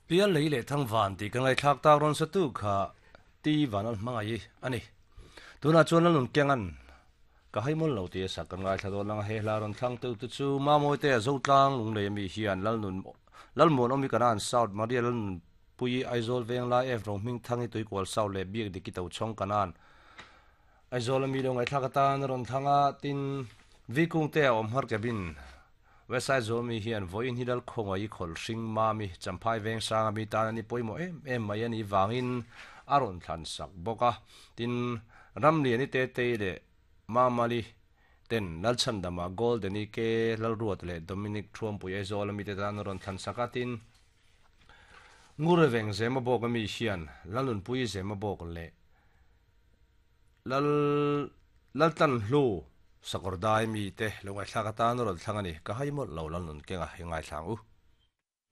Pial lei leh thang van tih ka ngaihthlak tak rawn sa tu kha Ti Vanal hmangaih a ni. Tunah chuan Lalnun Kengan ka hai mawl lo tih a sak kan ngaithla dawn ang a, he hla rawn thlang tu te chu Mamawite a Zotlang Lunglei ami hian Lalnun Lalmuanawmi Kanan South Maria Lalnun Pui Aizawl Venglai F Rohmingthangi Tuikual South leh Biak Diki Tochhawng Kanan Aizawl ami lo ngaihthlak atan a rawn thlang a, tin Vikungte a awm har cabin West Aizawl mi hian vawiin hi Lalkhawngaih khawlh hring mami Champhai Vengsanga mi tan a ni pawimawh em em mai a nih vangin a rawn thlan sak bawk a, tin Ramliani Tetei leh Mamali ten Lalchhandama Goldeni Ke Lalruata leh Dominic Thuampui Aizawl ami te tan a rawn thlan sak a, tin Ngureveng Zemabawk ami hian Lalnunpui Zemabawk leh Lal Laltlanhlu Sakawrdai mite lo ngaihthlak atan a rawn thlang a ni. Ka hai mawlh lo Lalnun kenga i ngaithla ang u.